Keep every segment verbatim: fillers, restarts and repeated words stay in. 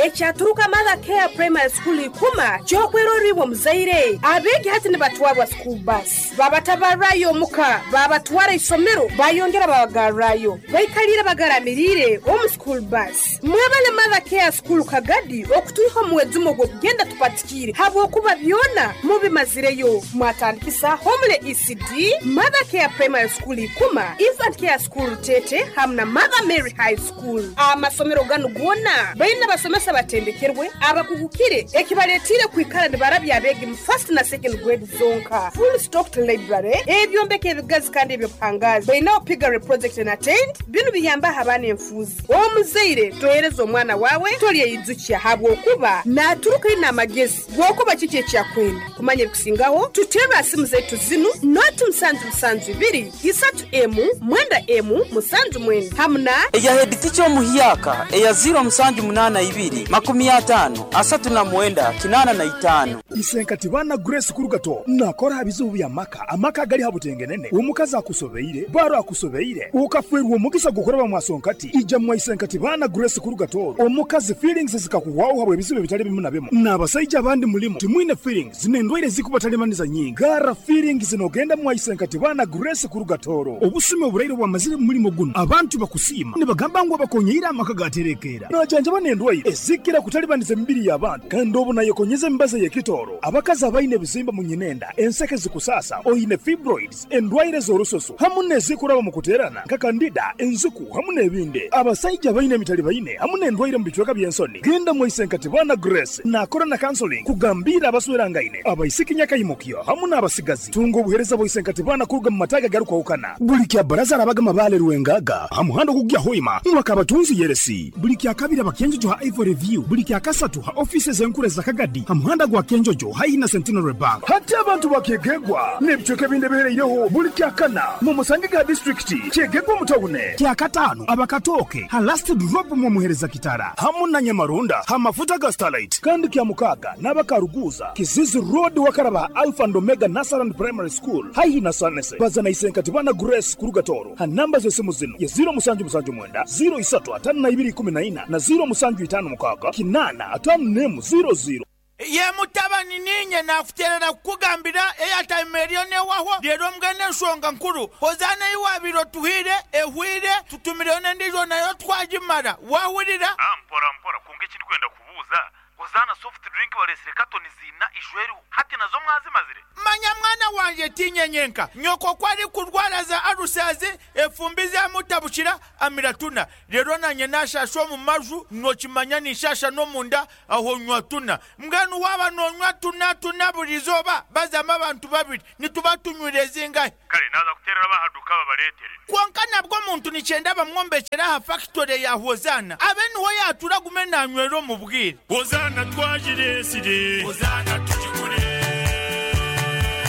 Ekyaturuka Mother Care Primary School ikuma kyokweroribwa muzaire. Abeegi hati nibatwarwa school bus, babatabarayo omuka, babatwara isomero, bayongera babagarrayo, baikalire bagaramirire omu school bus. Mwebale Mother Care School Kagadi okutwiha omuwezumo gw'okugenda tupatikire habwokuba byona mubimazireyo. Mwatandikisa Homele E C D, Mother Care Primary School Ikuma, Infant Care School Tete hamu na Mother Mary High School. Amasomero ganu gona baina basomesa batendekerwe abakuhukire, ekibaletire kwikara nibarabya abeegi mu first na second grade zonka. Full stocked library, ebyombeko ebigazi kandi ebyobuhangazi. Bainaho piggery project na tent. Binu biyambaho abaana enfuuzi. Omuzaire tohereza omwana wawe, tolyeyijukya habwokuba naturuka ina amagezi gwokuba kiki ekyakwenda kumanya. Ebikusingaho tuterwa simu zaitu zinu: noti musanju musanju ibiri isatu emu mwenda emu musanju mwenda hamu na eya head teacher omuhyaka eya ziro musanju munana ibiri makumi atano asatu na mwenda kinana na itano. Isenkati bana Grace Kurugato nakora bizibu bya maka, amaka gali habutengenene, omukazi akusobeire, baro akusobeire, ukafwerwa omukisa gukoreba mwasonkati, ija mwa Isenkati bana Grace Kurugato. Omukazi feelings zikakuwawo habwe ebizibu bitali bimu na bimu, n'abasajja abandi mulimu timwine feelings n'endwaire zikubatalibaniza nyingi. Gara feelings nogenda mwa Isenkati bana Grace Kurugatoro. Obusumi oburaire bwamazire mu mulimo guno, abantu bakusiima nibagamba ngu abakonyeire amaka gaterekera, najanjaba n'endwaire ezikira kutalibaniza emibiri y'abantu, kandi obu nayekonyeza emibazi y'ekitoro. Abakazi abaine ebizimba mu nyinenda, enseke zikusasa, oine fibroids, endwaire z'orususu hamu n'ezikuraba mu kuterana nka candida, enziku hamu n'ebindi. Abasajja abaine emitali baine hamu n'endwaire mu bicweka by'ensoni, genda mwa Isenkati bana Grace. Nakora na counseling kugambira abaswerangaine, abaisiki nyakayimukyo hamu n'abasigazi. Tunga obuhereza bwa Isenkati bana kuruga mu mataga garukwahukana. Buli kya baraza arabaga mabale Rwengaga ha muhanda ogugya Hoima mwaka abatunzi yeresi. Buli kya kabiri abakenjojo ha Ivory View. Buli kya kasatu ha ofisi zenkure za Kagadi ha muhanda gwa Kenjojo haihi na Centenary Bank. Hati abantu bakyegegwa n'ebicweka ebindi ebihereireho, buli kya kana mu musange ga disitulikiti kyegegwa mutawune. Kya katano abakatoke ha Last Drop mu muhereza kitara hamu na Nyamarunda ha mafuta ga Starlight. Kandi kya mukaga n'abakaruguza Kizizi Road wakaraba Alpha and Omega Nursery Primary School haihi na Sanese. Bazana Isenkati bana Grace Kurugatoro ha namba z'esimu zino: ya ziro musanju musanju mwenda ziro isatu atano na ibiri ikumi na ina na ziro musanju itano mukaga kinana atano nemu ziro ziro. Ye mutabani, ninye nakuterera kukugambira airtime eriyo newaho rero. Mbwene ensonga nkuru, Hozana iwabire otuhire ehwire, tutumireyo n'endijo nayo twagimara, wahurira? Ah, mpora mpora, kunga ekindi kwenda kubuuza, Hozana soft drink balesire katoni zina ishweriho, hati nazo mwazimazire? Manya mwana wanje, tinyenyenka nyoko kwari kurwara za arusazi, efumbi zamutabukira, amira tuna. Rero nanye nashasha omu maju, nokimanya nishasha n'omunda aho nywa tuna. Mbwenu waba nonywa tuna tuna buri izooba, bazamu abantu babiri nituba tunywire zingahe? Kale naza kuterera bahaduka babaletere. Konka nabwo omuntu nikyenda bamwombekera aha factory ya Hozana, abe niho yatura gume nanywera omu bwire. Hozana twagiresire, Hozana tugikure.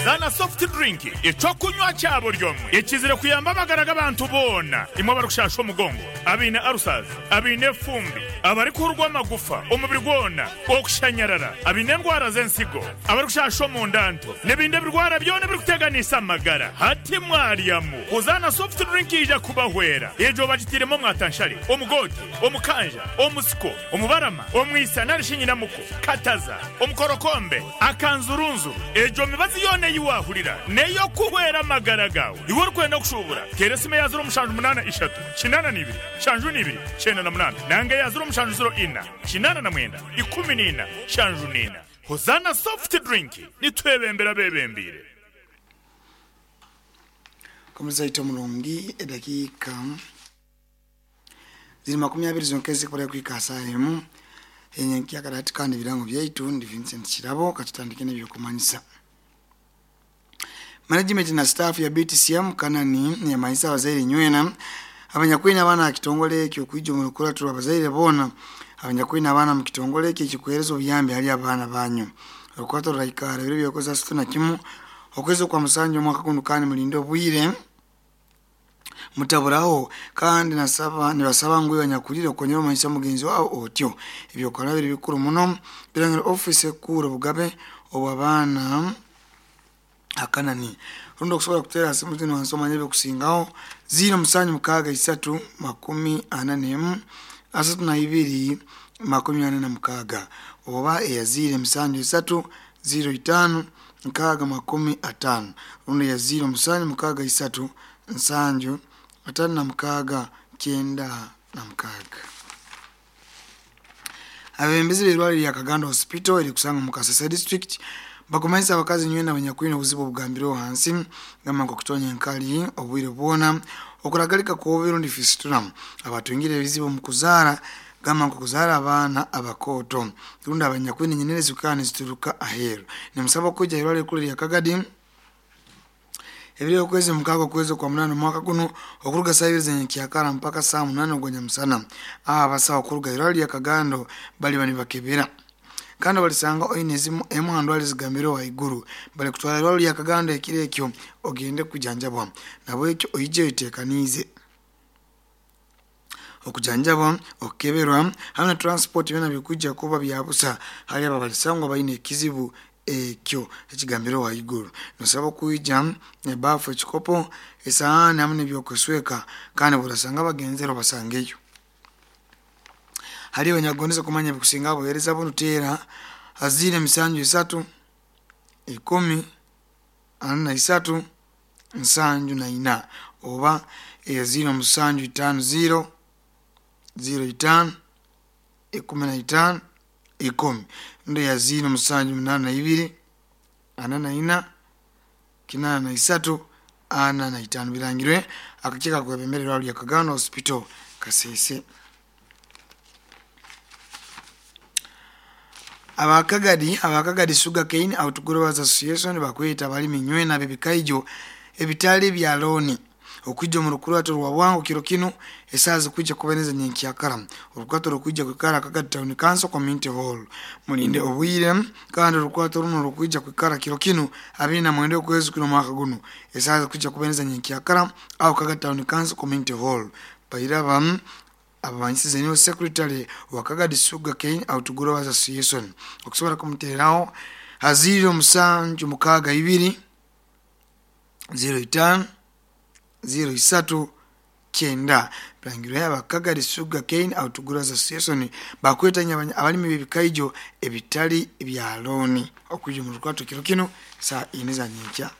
Zana soft drink, ekyokunywa kya buri omwe, ekizire kuyamba amagara g'abantu boona. Imwe abarikushasha omugongo, abaine arusazi, abaine efumbi, abarikuhurwa amagufa omubiri gwona, okushanyarara, abaine endwara z'ensigo, abarikushasha omundanto n'ebindi ebirwara byona ebirikuteganisa amagara, hati mwaryamu Hozana soft drink ija kubahwera. Egyo bagitiremu omwatanshare, omugote, omukanja, omusiko, omubarama, omwisa narishi nyinamuko, kataza, omukorokombe, akanzurunzuru. Egyo mibazi yona eyiwahurira neyo kuhwera amagara gawe. Iwe orikwenda kushubura, tera esimu ya ziro mushanju munana ishatu kinana nibiri shanju nibiri kyenda na munana nanga ya ziro mushanju ziro ina kinana na mwenda ikumi nina shanju nina. Hozana soft drink, nitwebembera bebembire. Komeza mulungi, edakiika ziri makumi abiri zonka ezikola kwika saa emu enyenkyakala. Kandi ebirango byaitu, ndi Vincent Kirabo. Katutandike n'ebyokumanyisa. Management na staff ya B T C M Kanani yamanyisa abazaire nywena abanyakwina abaana kitongole ekyo okwija omu lukulatiro. Abazaire boona abanyakwina abaana mu kitongole ekyo ekikuhereza obuyambi hali abaana banyu, olukulatiro ruraikara ebiro byokwezi asatu na kimu okwezi okwa musanju omwaka guno, kandi mulinde obwire, mutaburaho. Kandi nasaba nibasaba ngu banyakulire okonyera omanyisa mugenzi wawe otyo. Ebyokola biri bikuru muno birangira ofisi ekuru obugabe obw'abaana akanani. Rundi okusobola kuteera simu zino wansi omanye ebyokusingaho: ziro musanju mukaaga isatu makumi ana n'emu asatu na ibiri makumi ana na mukaaga oba eya ziro musanju isatu ziro itaano nkaaga makumi ataano rundi eya ziro musanju mukaaga isatu nsanju ataano na mukaaga kyenda na mukaaga. Abebembezi b'eirwariro lya Kagando Hospital erikusangwa mu Kasese district bakumanyisa abakazi nywena abanyakwine obuzibu obugambireho hansi gamba nk'okutonya enkali obwire bwona, okuragalika kw'obubiri rundi fistula, abatungire ebizibu omu kuzaara gamba nk'okuzaara abaana abakooto rundi abanyakwine enyenere zikaba nizituruka aheeru. Nimusaba okwija irwariro erikuru erya Kagadi ebiro okwezi mukaaga okwezi okwa munaana omwaka guno okuruga saaha ibiri z'enyenkyakara mpaka saaha munaana ogw'enyamusana. Aba abasawo okuruga irwariro lya Kagando baliba nibakebera kandi balisanga oine ezimu emu ha ndwara ezigambireho haiguru balikutwara irwariro lya Kagando ekiro ekyo ogende kujanjabwa. Nabwekyo oije oyeteekaniize okujanjabwa, okukeberwa hamwe na transport byona bikwijja kuba bya busa hali abo abalisangwa baine ekizibu ekyo ekigambireho haiguru. Nosaba okwija ebaafu, ekikopo, esahaani hamwe n'ebyokwesweka kandi bw'orasanga abagenzere obasangeyo. Hali abanyakugondeze kumanya ebikusinga obuheereza bunu teera ziro emisanju isatu ikumi ana na isatu nsanju na ina oba eya ziro musanju itaano ziro ziro itaano ikumi na itaano ikumi rundi eya ziro musanju munaana na ibiri ana na ina kinaana na isatu ana na itaano. Birangirwe akakiiko akakwebembera irwariro lya Kagando Hospital Kasese. Abakagadi abakagadi Sugarcane Outgrowers Association bakweta abalimi nywena ab'ebikaijo ebitali bya looni okwija omu rukurato rwa bwangu kiro kinu esaaha zikwija kuba nyenkyakara. Orukurato rukwija kwikara Kagadi Town Council Community Hall. Mulinde obwire kandi orukurato runo rukwija kwikara kiro kinu abiri na mwenda okwezi kuno omwaka guno esaaha zikwija kuba nyenkyakara aho Kagadi Town Council Community Hall. Bairaba abamanyisize niwe secretary wa Kagadi Sugarcane Outgrowers Association. Okusobola kumutereraho ha ziro musanju mukaaga ibiri ziro itaano ziro isatu kyenda. Birangirwe aba Kagadi Sugarcane Outgrowers Association bakwetanya abalimi b'ebikaijo ebitali bya looni okwija omu rukurato kiro kinu saa ine za nyenkya.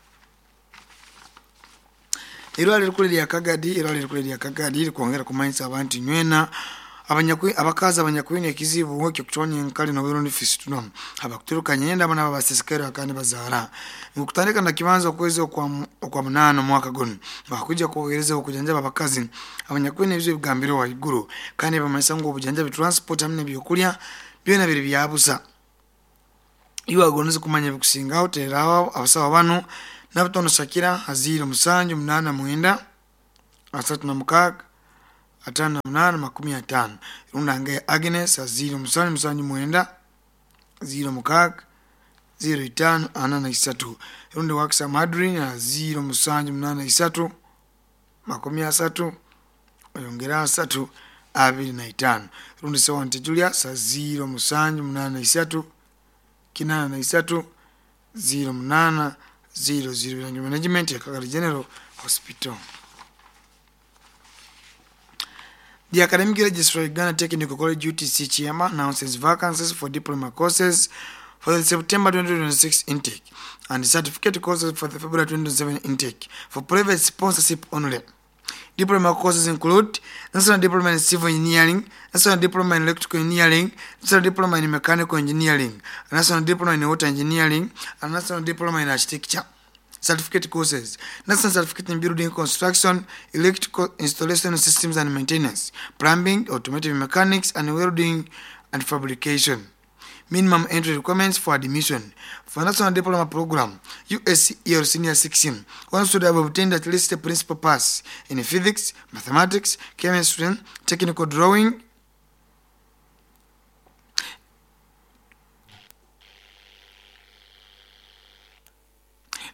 Irwariro erikuru erya Kagadi irwariro erikuru erya Kagadi rikwongera kumanyisa abantu nywena abanyakwi abakazi abanyakwine ekizibu ekyokutonya enkali n'oburundi fistula abakuturuka nyenda abo nabo abasisikara kandi bazaara nkutandika na kibanza okwezi okwa okwa munaana omwaka guno bakwija kubohereza okujanjaba abakazi abanyakwine ebizibu ebigambirwe haiguru kandi bamanyisa ngu obujanjabi, transport hamwe n'ebyokulya byona biri byabusa. Iwe agondeze kumanya ebikusingaho tereraho abasawo banu nabutono Shakira ziro musanju munaana mwenda asatu na mukaaga ataano na munaana makumi ataano rundi angaye Agnes ziro musanju musanju mwenda ziro mukaaga ziro itaano ana na isatu rundi Wakisa Madrin ziro musanju munaana isatu makumi asatu oyongera asatu abiri na itaano rundi Sewante Julius ziro musanju munaana isatu kinaana na isatu ziro munaana ziro ziro. Birangi management ya Kagadi General Hospital. The Academic Registrar Uganda Technical College U T C Chiama announces vacancies for diploma courses for the September twenty twenty-six intake and certificate courses for the February twenty twenty-seven intake for private sponsorship only. Diploma courses include National Diploma in Civil Engineering, National Diploma in Electrical Engineering, National Diploma in Mechanical Engineering, National Diploma in Water Engineering, and National Diploma in Architecture. Certificate courses: National Certificate in Building Construction, Electrical Installation Systems and Maintenance, Plumbing, Automotive Mechanics, and Welding and Fabrication. Minimum entry requirements for admission. For National Diploma Program, U S C E or Senior sixteen, one should have obtained at least a principal pass in physics, mathematics, chemistry, technical drawing,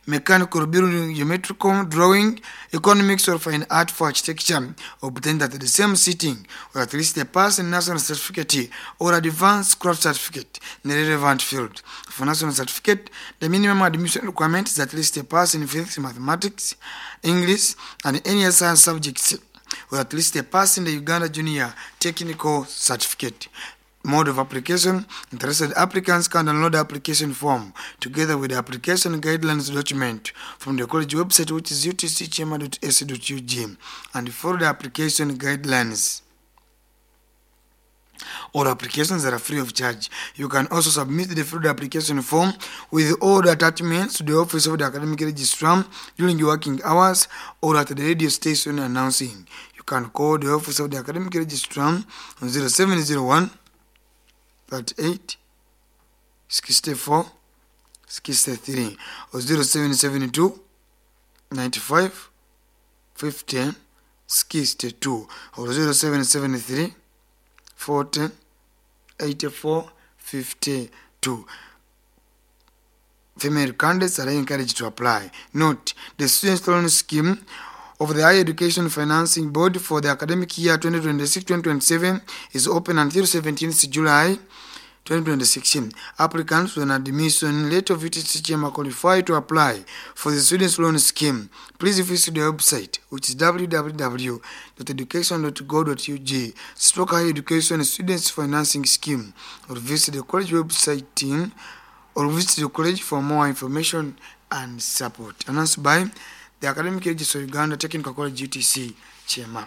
mechanical building, geometrical drawing, economics or fine art for architecture, obtained at the same sitting, or at least a pass in national certificate or advanced craft certificate in the relevant field. For national certificate, the minimum admission requirement is at least a pass in physics, mathematics, English, and any other science subjects, or at least a pass in the Uganda Junior Technical Certificate. Mode of application: interested applicants can download the application form together with the application guidelines document from the college website, which is u t c chema dot a c dot u g, and follow the application guidelines. All applications are free of charge. You can also submit the filled application form with all the attachments to the office of the academic registrar during your working hours or at the radio station announcing. You can call the office of the academic registrar on zero seven zero one thirty-eight sixty-four sixty-three or zero seven seven two ninety-five fifty sixty-two or zero seven seven three forty eighty-four fifty-two. Female candidates are encouraged to apply. Note, the Student Loan Scheme of the Higher Education Financing Board for the academic year twenty twenty-six twenty twenty-seven is open until seventeenth July twenty twenty-six. Applicants with an admission letter of U T C Kyema qualify to apply for the Students Loan Scheme. Please visit the website, which is w w w dot education dot gov dot u g stroke higher education students financing scheme, or visit the college website team or visit the college for more information and support. Announced by the Academic Registrar of Uganda Technical College U T C Kyema.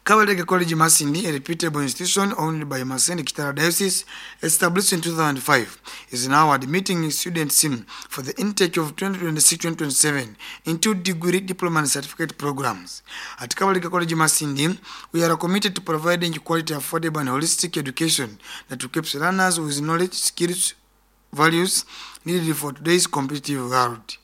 Kabalega College Masindi, a reputable institution owned by Masindi Kitara Diocese, established in two thousand five, is now admitting students in for the intake of twenty twenty-six twenty twenty-seven into degree, diploma and certificate programs. At Kabalega College Masindi, we are committed to providing quality, affordable and holistic education that equips learners with knowledge, skills, values needed for today's competitive world.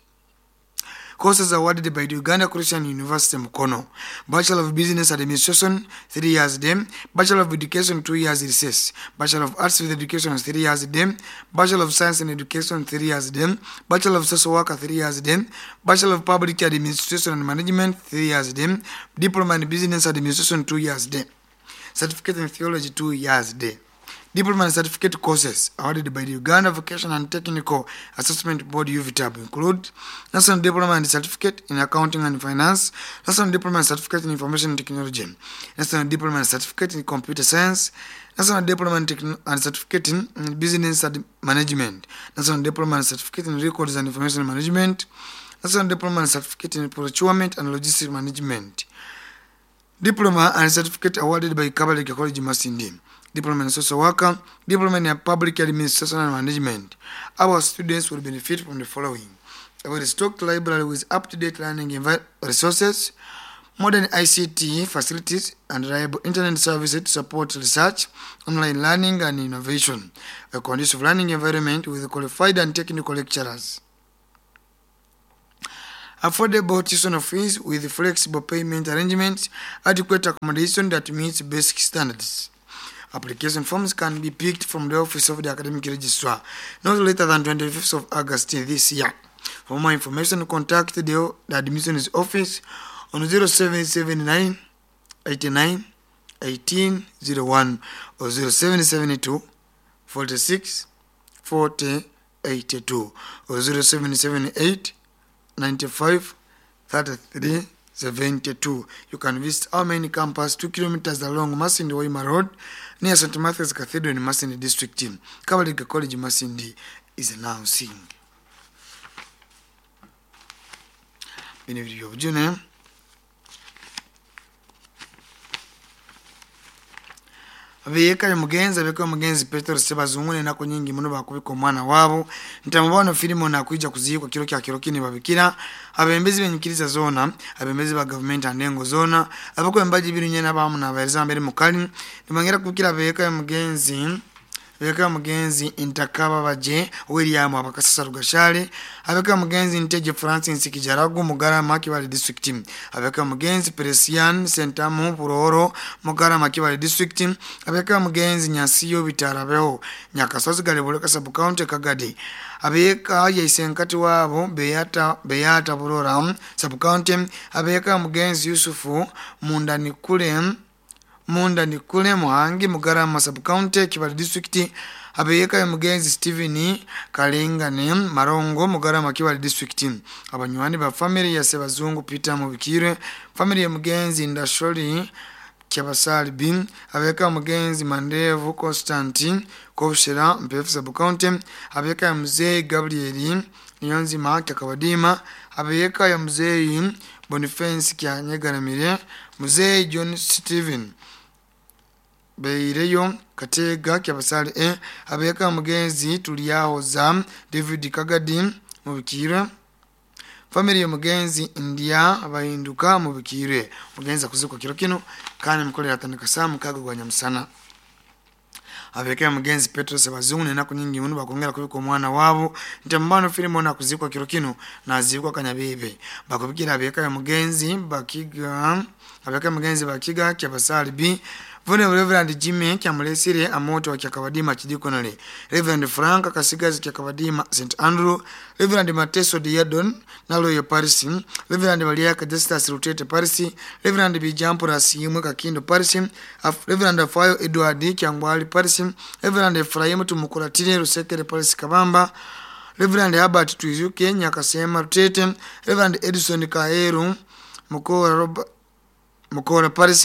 Courses awarded by the Uganda Christian University Mukono: Bachelor of Business Administration, three years dem; Bachelor of Education, two years recess; Bachelor of Arts with Education, three years dem; Bachelor of Science in Education, three years dem; Bachelor of Social Work, three years dem; Bachelor of Public Administration and Management, three years dem; Diploma in Business Administration, two years dem; Certificate in Theology, two years dem. Diploma and certificate courses awarded by the Uganda Vocational and Technical Assessment Board U V T A B include National Diploma and Certificate in Accounting and Finance, National Diploma and Certificate in Information Technology, National Diploma and Certificate in Computer Science, National Diploma and, Techn- and Certificate in in Business and Management, National Diploma and Certificate in Records and Information Management, National Diploma and Certificate in Procurement and Logistics Management. Diploma and certificate awarded by Kabalega College Masindi: Diploma in Social Worker, Diploma in Public Administration and Management. Our students will benefit from the following: a well-stocked library with up-to-date learning envi- resources, modern I C T facilities, and reliable internet services to support research, online learning, and innovation, a conducive learning environment with qualified and technical lecturers, affordable tuition fees with flexible payment arrangements, adequate accommodation that meets basic standards. Application forms can be picked from the office of the academic registrar not later than twenty-fifth of August this year. For more information, contact the, the admissions office on zero seven seven nine eighty-nine eighteen oh one or zero seven seven two forty-six forty eighty-two or zero seven seven eight ninety-five thirty-three seventy-two. You can visit our main campus two kilometers along Masindi Hoima Road near Saint Matthew's Cathedral in Masindi District. Kabalega College Masindi is announcing. Bino biri byobujune. Abeyeka mugenzi abeka mugenzi Petero Sebazungu n'enaku nyingi muno bakubika omwana waabo ntamubano Filimoni akwija kuziikwa kiro kya kiro kini. Babikira abembezi benyikiriza zona, abembezi ba gavumenti andengo zona, abakwembaji birinye n'abamu n'abahereza mbere mukali nibongera kubikira abeyeka mugenzi abeka mugenzi Ntakaba baje William Abakasasa Rugashale, abeka mugenzi Nteje Francis Kijaragu Mugarama Kibale District, abeka mugenzi Presian Sentamu Puroro Mugarama Kibale District, abeka mugenzi Nyasiyo Bitarabeho Nyakasozi Galebuleka Sub County Kagadi, abeka yaisenkati wabo Beyata Beyata Burora Sub County, abeka mugenzi Yusufu Mundanikule Mundanikule Muhangi Mugarama Sub County Kibale District, abeyeka mugenzi Steven Kalengane Marongo Mugarama Kibale District, abanywani ba family ya Sebazungu Peter Mubikire, family ya mugenzi Ndasholi. Kyabasali B, abeka mugenzi Mandevu Constantine Kobushera Mpefu Sub County, abeka ya mzee Gabriel Niyonzima Kyakabadima, abeka ya mzee Boniface Kyanyegaramire, mzee John Steven Beireyo Katega Kyabasali E, abeka mugenzi Tuliyahoza David Kagadi Mubikire, family ya mugenzi India abahinduka mubikire. Mugenzi akuzikwa kiro kino kandi mukolera atandika saa mukaga gwa nyamusana. Abeka mugenzi Petro Sebazungu nenaku nyingi muno bakongera kubika omwana wabo ntambano filimu na kuzikwa kiro kino nazikwa Kanyabebe. Bakubikira abeka ya mugenzi bakiga abeka mugenzi bakiga Kyabasali B, Vune Reverend Jimmy Kyamulesire Amoto wa Kyakabadima Chidikonole, Reverend Frank Kasigazi Kyakabadima Saint Andrew, Reverend Mateso Diadon Naloyo Paris, Reverend Baliaka Justus Rutete Paris, Reverend Bijampura Simwe Kakindo Paris, Reverend Afayo Edward Kyangwali Paris, Reverend Ephraim Tumukulatire Rusekere Paris Kabamba, Reverend Herbert Twizuke Nyakasema Rutete, Reverend Edison Kaeru Mukora Robert Mukora Paris,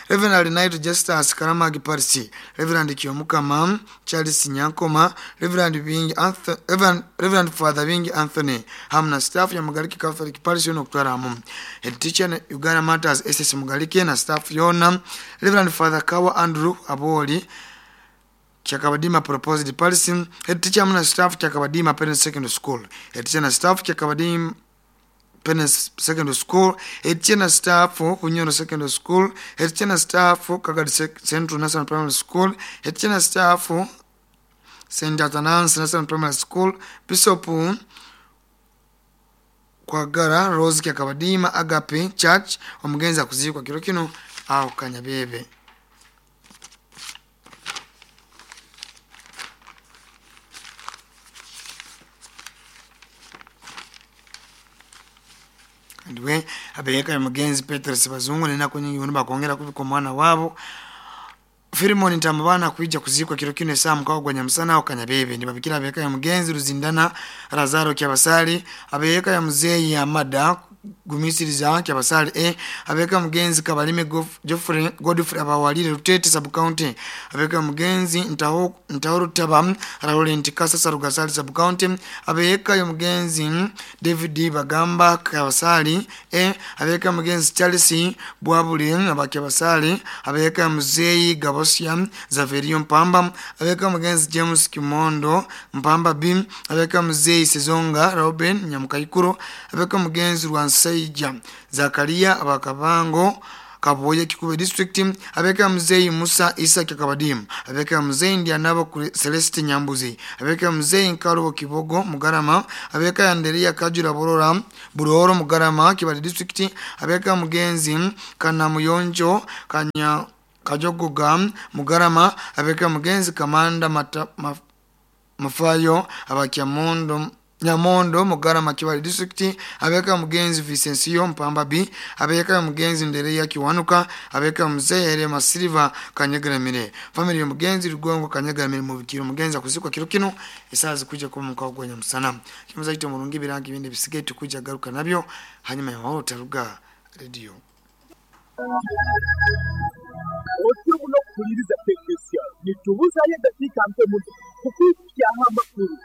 Reverend Knight Justus Karamagi Paris, Reverend Kiyomukama Charles Nyankoma, Reverend Bingi Anthony, Reverend, Reverend Father Bingi Anthony, hamna staff ya Mugalike Catholic Parish yono kutwaramu. Head teacher Uganda Matters S S Mugalike na staff yona, Reverend Father Kawa Andrew Aboli Kyakabadima Proposed Paris, Head teacher hamna staff Kyakabadima Parents Secondary School, Head teacher na staff Kyakabadima Parents Secondary School, Head teacher na staff Bunyoro Secondary School, Head teacher na staff Kagadi Central National Primary School, Head teacher na staff Saint Athanasius National Primary School, Bishop Kwagara Rose Kyakabadima Agape Church. Omugenzi akuzikwa kiro kino aho Kanyabebe. Ndiwe abeyeka mugenzi Petrus Bazungu nenaku nyingi muno bakongera kubika omwana wabo Filimoni Ntambana kuija kuzikwa kiro kino saa mukaaga gwa nyamusana aho Kanyabebe. Ndibabikira abeyeka ya mugenzi Ruzindana Lazaro Kyabasali, abeyeka ya muzeyi Amada Gumisiriza Kyabasali E, abeyeka mugenzi Kabalime Geoffrey Godfrey Abawalire Rutete Sub County, abeyeka mugenzi Ntaho Ntaho Rutaba Laurent Kasasa Rugasali Sub County, abeyeka ya mugenzi David Bagamba Kyabasali E, abeyeka mugenzi Charles Bwabule Abakyabasali, abeyeka muzeyi Gabosia Zaverio Mpamba, abeka mugenzi James Kimondo Mpamba B, abeka muzeyi Sezonga Robin Nyamukaikuro, abeka mugenzi Rwansaija Zakaria Abakabango Kaboye Kikube District, abeka muzeyi Musa Isa Kyakabadimu, abeka muzeyi Ndianabo Celeste Nyambuzi, abeka muzeyi Nkarubo Kibogo Mugarama, abeka Anderia Kajura Borora Buroro Mugarama Kibali District, abeka mugenzi Kanamuyonjo Kanya Kajogoga Mugarama, abeka mugenzi Kamanda Mata, ma, Mafayo Abakyamondo Nyamondo Mugarama Kibali District, abeka mugenzi Vicencio Mpamba B, abeka mugenzi Ndereya Kiwanuka, abeka muzehere Masiriva Kanyegaramire, family mugenzi Rugongo Kanyegaramire mubikiro. Mugenzi akuzikwa kiro kino isazi kuja kuba mukago gwa nyamusana. Kimuza kito murungi birangi bindi bisigaye tukuja garuka nabyo hanyuma ya mahoro taruga radio. Otyo muno kukuliriza pekesya nitubuzayo eddakiika mpe muno kukwikyaho amakulu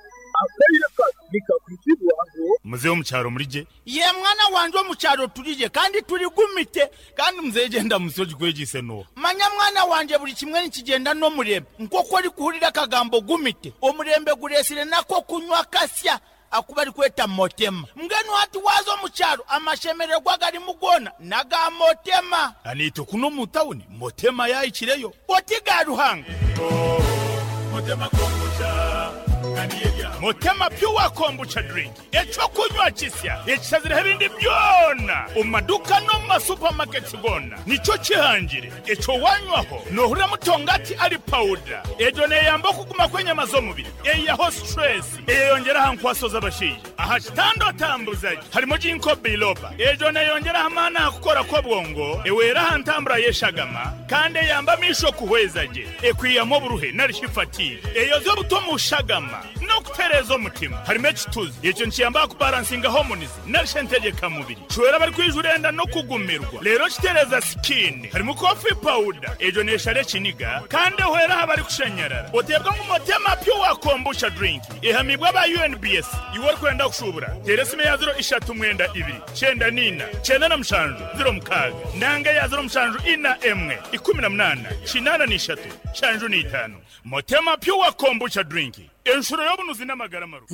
akaire kano nikakuzibwaho. Muzehe omukyaro mulije ye mwana wanje omukyaro tulije kandi tuligumite kandi muzehe genda musoji kwegise no manya mwana wanje buli kimwe nikigenda n'omurembe nk'oku orikuhurira akagambo gumite omurembe guresire nako kunywa kasya akuba arikweta motema. Mbwenu hati waza omukyaro amashemererwa garimu gona naga motema. Anito kuno mu tawuni motema yayikireyo oti ga Ruhanga motema kombucha Motema pure kombucha drink echo kunywa kisya ekisazira ebindi byona omumaduka no mu masupermarkets gona nico kihangire echo wanywaho nohurira mutongati ari powder ejo neyamba okuguma kw'enyama z'omubiri eyaho stress eyeyongeraho nkwaso z'abashaija aha kitando tambuzaji harimo ginkgo biloba ejo neyongeraho amaani aha kukora kw'obwongo eweraho ntambura y'eshagama kandi eyamba amisho kuhweza gye ekwiyamu oburuhe narishi fatigue eyoza obuto mu shagama N'okutereeza omutima. Harimu ekituzi. Ekyo nikiyamba kubalansinga hormones narisha entegeka mubiri. Kihwera abarikwijura enda n'okugumirwa. Rero kitereeza skin. Harimu coffee powder. Egyo neeshara ekiniga kandi ehwera aha barikushanyarara. Oteebwa ngu Motema Pure Kombucha drink. Ehamibwa aba U N B S. Iwe orikwenda kushubura, teera esimu ya ziro ishatu mwenda ibiri kyenda niina kyenda na mushanju ziro mukaaga nanga ya ziro mushanju ina emwe ikumi na munana kinaana n'ishatu shanju n'itaano. Motema Pure Kombucha drink, enshuro y'obunuzi n'amagara marungi.